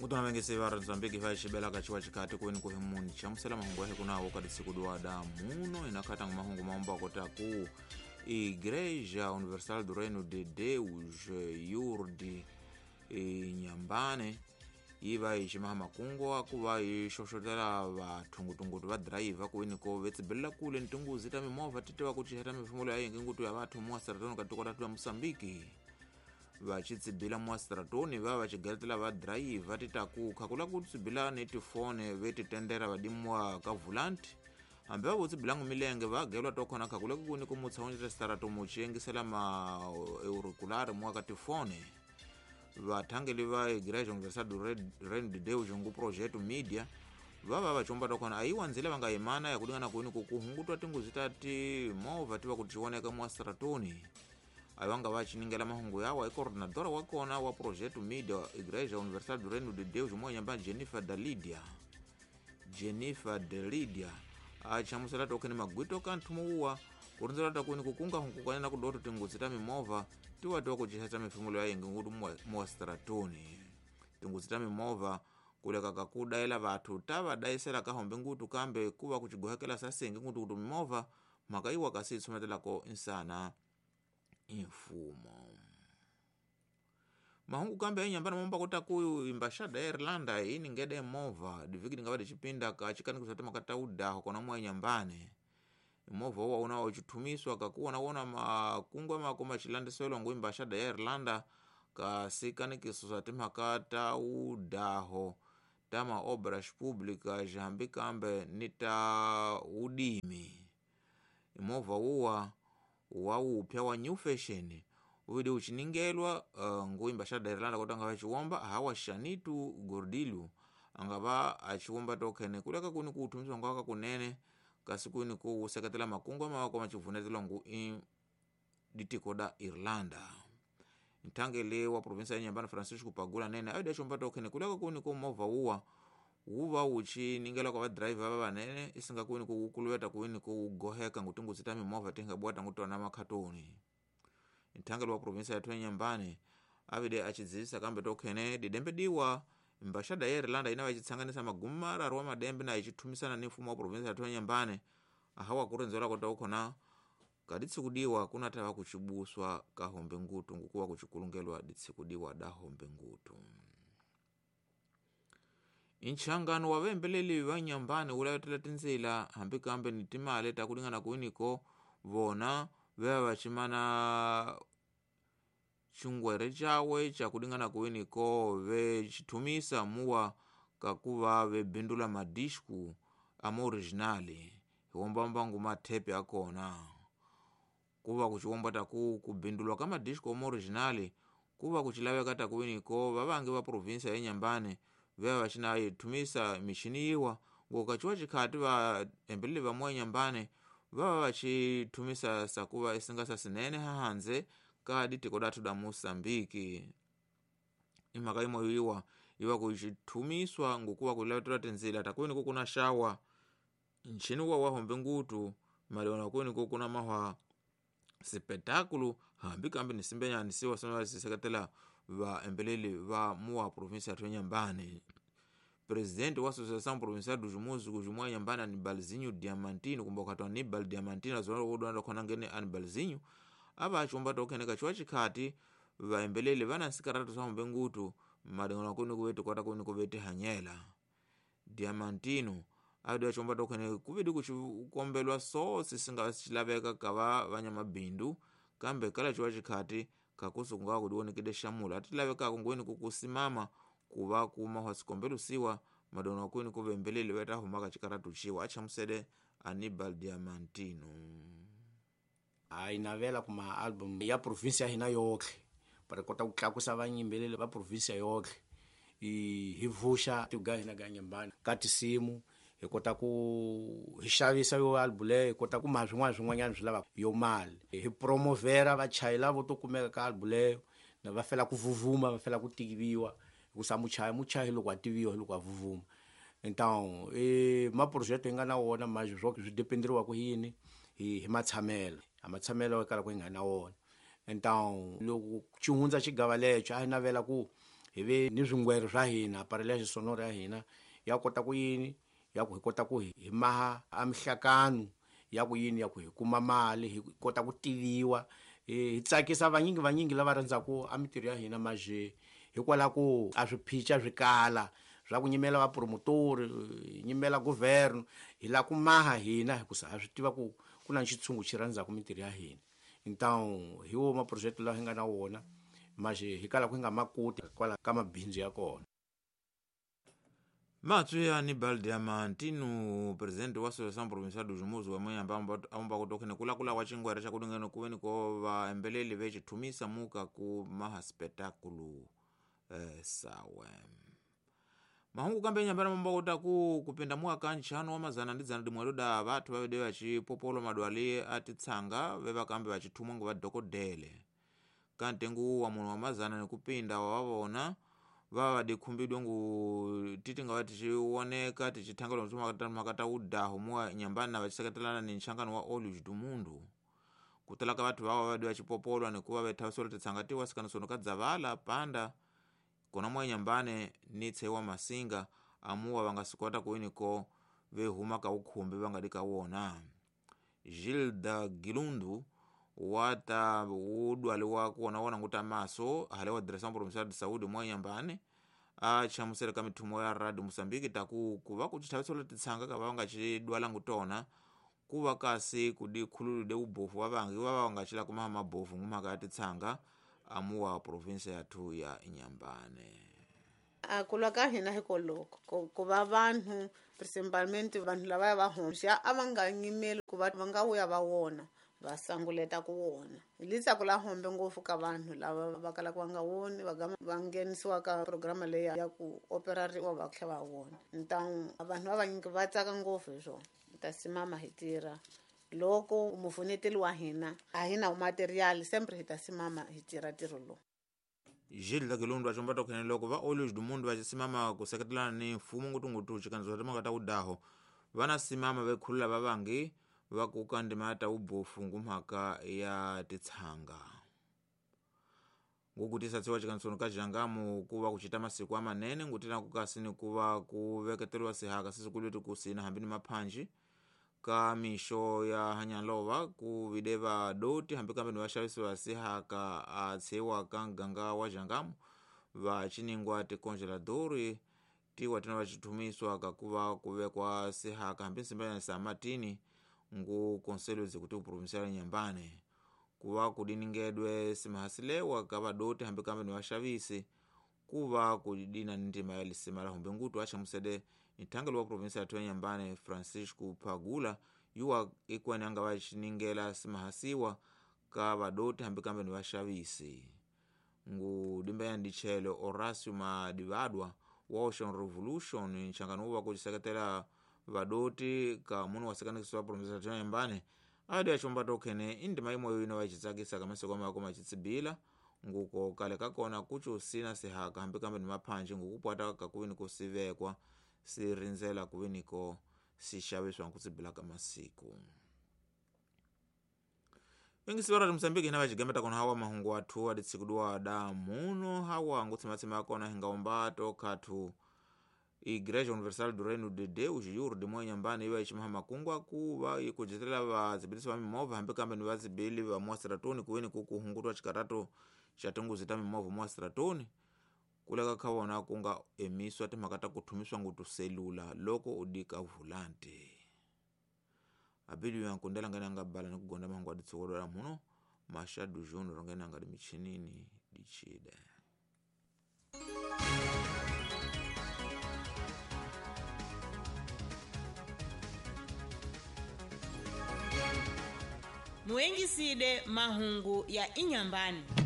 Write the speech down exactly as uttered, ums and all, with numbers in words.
Ngutona vengese va Mozambique va xibelaka xiwa xikati ku ni ku himunhu chamusela mahungu ya kunawo ka disiku dwada muno inakhatanga mahungu maomba kota ku Igreja Universal do Reino de Deus Yurdi Inhambane yi va yi ximaha makungu a ku va yi xoxotela vathungutungutu va dirayivha ku ni ko vetsibela kule ni tinguzi ta mimovha ti tiva ku cinca mifumo ya yingi ngutu ya vathu muaseratoni ka tiko ra la Mozambique va xitsibila muaseratoni va va xigeletela va dirayivha ti ta ku khakula ku tsibila ni tifone ve ti tendera vadimiwa ka volanti hambi va votsibilangu milenge va gelwa to khona khakula ku ni ku mutshawuni restaurant mu xiyengisela ma auriculari muwa ka tifone vathangeli va Igreja Universal do Reino de Deus ngu Projeto Media va va va chomba to khona ayiwa ndzila va nga yimana ya kulingana kwini ku kuhungutwa tinguzi ta timovha ti va ku tioneka muaseratoni ayi nga va xiningela mahungu yawa i coordinadora wa kona wa Projeto Media Igreja Universal do Reino de Deus moyamba Jennifer Dalidia Jennifer Dalidia a chamusela tokheni magwito ka nthumo uwa kurindzela ta kwini kukunga hunkukanya na kudoto tinguzi ta mimovha tiwa tiwa ku cinca mifumo ya yingi ngutu muaseratoni tinguzi ta mimovha kuleka ka kudayela vathu ta va dayisela ka hombe ngutu kambe kuva kuchigohekela sasengi ngutu kuti mimovha mhaka iwa kasi tshumetelako insana imfumo mahungu kambe enyambana momba kota kuyu embaixada ya Irlanda ini ngede movha diviki ngava dicipinda ka chikanikiso ta makata udaho kona mwa nyambane movha uwa una uchithumiswa kakuona wona makungu makoma chilandiselo ngu embaixada ya Irlanda ka sikanikiso sa timhaka udaho tama obras públicas hambi kambe ni ta udimi movha uwa wa upya wa new fashion uvidi uchiningelwa uh, ngu embaixada ya Irlanda kota ngava chiwomba hawa Shanitu Gordilho angava achiwomba tokhene kuleka kuni kuuthumiswa ngwaka kunene kasi kuni ku seketela makungu mawako machivunetelo ngu ditiko da Irlanda nthangele wa provinsia ya Inhambane Francisco Pagula nene ayida chomba tokhene kuleka kuni ku movha uwa wuva wuchiningela kwa vadirayivha va vanene isinga kuni ku wukuluweta kuni ku goheka ngutinguzi ta mimovha tinga bwata ngutona makhatoni nthangele wa provinsia ya Inhambane avide achidzisa kambe tokhene didembe diwa embaixada ya Irlanda ina vachitsanganisa magumu mararu wa madembe na ichithumisana ni mfumo wa provinsia ya Inhambane ahawa kurendzela kota ukhona kaditsikudiwa kunatava kuchibuswa ka hombe ngutu ngukuwa kuchikulungelwa ditsikudiwa da hombe ngutu inchangano wa vembeleli va Inhambane wulavetela tindzila hambi kambe ni timali ta kulingana kwiniko vona veva vachimana xingwere cawe ca kulingana kwiniko ve xithumisa muwa kakuva ve bindula madisku ama originali hiwombamba ngu mathepe akona kuva kuchiwomba taku kubindulwa ka madisku ama originali kuva kuchilaveka takuwiniko vavangi va provinsia ya Inhambane veva vachina yithumisa mixini yiwa ngokachiwa chikhati va embeleli va moya Inhambane vava vachithumisa sakuva isinga sa sinene hahandze ka ditiko dathu da Mozambique imhaka imwe yiwa iwa kuchithumiswa ngukuva kulavetela tindzila takwini kukuna xawa nchini wa wahombe ngutu maliona kwini kukuna mahwa sipetakulu hambi kambe ni simbenyani siwa sona siseketela va embeleli va muwa provinsia ya Inhambane presidente wa Associação Provincial dos Músicos mwa Inhambane Anibalzinho Diamantino kumba ukati Anibal Diamantino azona wodwanda khona ngene Anibalzinho ava achomba tokhene kachiwa chikhati vaembeleli vana nsikaratu sa hombe ngutu madingana kuni kuvetu kota kuni kuveti hanyela Diamantino adi achomba tokhene kuvidi kuchikombelwa sosi singa sichilaveka kava vanyamabindu kambe kala chiwa chikhati kakusu kungawa kudiwonekede xamula atilavekako ngweni kukusimama kuva kuma hwasikombelo siwa madona kweni kuvembeleli veta humaka chikaratu chiwa achamusele Anibal Diamantino a inavela kuma album ya provinsia hina yotlhe para kota ku tlakusa vanyimbeleli va provinsia yotlhe hi vuxa tiga hina ga Inhambane ka tisimu hi kota ku hi xavisa yo album leyo hi kota ku ma swin'wana swin'wanyana swi lava yo mali hi promovera vachayela vo to kumeka ka album leyo na va fela ku vuvuma va fela ku tiviwa hikusa muchayi muchayi loko a tiviwa loko a vuvuma então e maprojeto hi nga na wona manje swo swi dependeriwa ku yini hi hi matshamelo a matshamelo kala ku hi nga na wona então loko xi hundza xigava lexo a hi navela ku Hi ve ni swingwere swa hina aparelho sonoro ya hina ya kota ku yini ya ku hi kota ku hi maha a mihlakano ya ku yini ya ku hi kuma mali hi kota ku tiviwa hi tsakisa vanyingi vanyingi lava rhandzaku a mitirho ya hina maje hikwalaho ku a swiphica swi kala swa ku nyimela vapromotori nyimela governo hi la ku maha hina hikusa ha swi tiva ku ku na xitshungu xi rhandzaku mitirho ya hina. Então hi wo maproject lawa hi nga na wona maje hi kala ku hi nga makoti kwala ka mabindzu ya kona. Matswi ya Aníbal Diamantino, presidente wa Associação Provincial dos Músicos, amanhã amba kutokhene kulakula wa chingwere cha kudungeno kuveni ko vaembeleli vechithumisa muka ku maha spetáculo eh, sawe. Mahungu kambe nyambana mambo kutaku kupinda mwaka nchano wa mazana ndi dzana dimwe loda vathu vavede vachipopolo madwali atitsanga vevakambe vachithumwa ngo vadokodele. Kantengu wa muno wa mazana nikupinda wavavona vava dikhumbidwe ngu titi nga tichioneka tichithangalo mtuma makata udaho mwa nyambana vachiseketelana ni nchangano wa Olhos do Mundo. Kutalaka vathu vava vadi vachipopolwa nikuva vethavisolo titsanga tiwa sikanisono kadzavala panda kona mwa nyambane ni tsewa masinga amuwa vangasikota kuiniko vehuma ka ukhumbi vangadika wona. Gilda Gilundu wata udwali wa kuona wona nguta maso hale wa Direção Provincial de Saúde mwa nyambane a chamusele ka mithumo ya Radio Mozambique taku kuva kuchithavisolo titsanga ka vanga chidwala ngutona kuva kasi kudikhululu de ubofu wavangi vava vangachila kumaha mabofu ngumaka titsanga amuwa provinsia yathu ya Inhambane. A kulwa ka hina hikoloko ku va vanhu principalmente vanhu lava va homxa a va nga nyimeli ku va va nga vuya va wona va sanguleta ku wona. Hi la hombe ngopfu ka vanhu lava va kalaka va nga woni va va nghenisiwa ka programa leyi ya ku operariwa va tlhela va wona. Então vanhu va vanyingi va tsaka ngopfu hi swona. Hi ta simama hi tirha loko mufuneteli wa hina a hi na material sempre hi ta simama hi tirha ntirho lowu. Gilda Gilundu achomba tokhene loko va Olhos do Mundo vachisimama kuseketelana ni mfumo ngutungutu chikanzo timaka ta udaho vana simama vekhulula vavangi vakuka ndima ta ubofu ngumhaka ya titsanga. Ngukutisa tsiwa chikansono ka Jangamo kuva kuchita masiku amanene ngutina kukasini kuva kuveketeriwa sihaka sisikuliti kusina hambi ni maphanji ka mixo ya hanyalova ku vide vadoti hambi kambe ni vaxavisi va sihaka a tshiwa ka nganga wa Jangamo va chiningwa tikongeladori tiwa tina vachithumiswa kakuva kuvekwa sihaka hambi nsimba ya Samatini ngu Conselho Executivo Provincial Inhambane kuva kudiningedwe simahasilewa ka vadoti hambi kambe ni vaxavisi kuva kudina ni ndima ya lisima la humbe ngutu achamusede nthangelo wa provinsia yathu ya Inhambane Francisco Pagula yuwa ikwene anga vachiningela simahasiwa ka vadoti hambi kambe ni vaxavisi. Ngu dimba ya ndichelo Horácio Madivadwa wa Ocean Revolution nchangano uwa kuchiseketela vadoti ka munu wasekanikisiwa wa provinsia yathu ya Inhambane adi achomba tokhene indima imweyo ino vachitsakisa kamaseko mako machitsibila nguko kale kakona kucho sina sihaka hambi kambe ni maphanji ngukupwata kakuvini kusivekwa sirindzela kuviniko sixaviswa nkutsibila ka masiku. Ingisi vara Mozambique hina vachigemeta kona hawa mahungu athu aditsikudiwa da muno hawa ngutsimatsima kona hingaomba tokhathu Igreja Universal do Reino de Deus yur de mwa Inhambane iwa ichimaha makungwa kuva ikujetela vadzibilisi va mimovha hambi kambe ni vadzibili va mwasiratoni kuweni kukuhungutwa chikarato cha tinguzi ta mimovha mwasiratoni kuleka kha vona kunga emiswa timhaka ta kuthumiswa ngutu selula loko u dika volante. Abili ya nkundela ngene anga bala ni kugonda mahungu aditsokolola muno Machado Junior ngene anga dimichinini dichide. Muengiside mahungu ya Inhambane.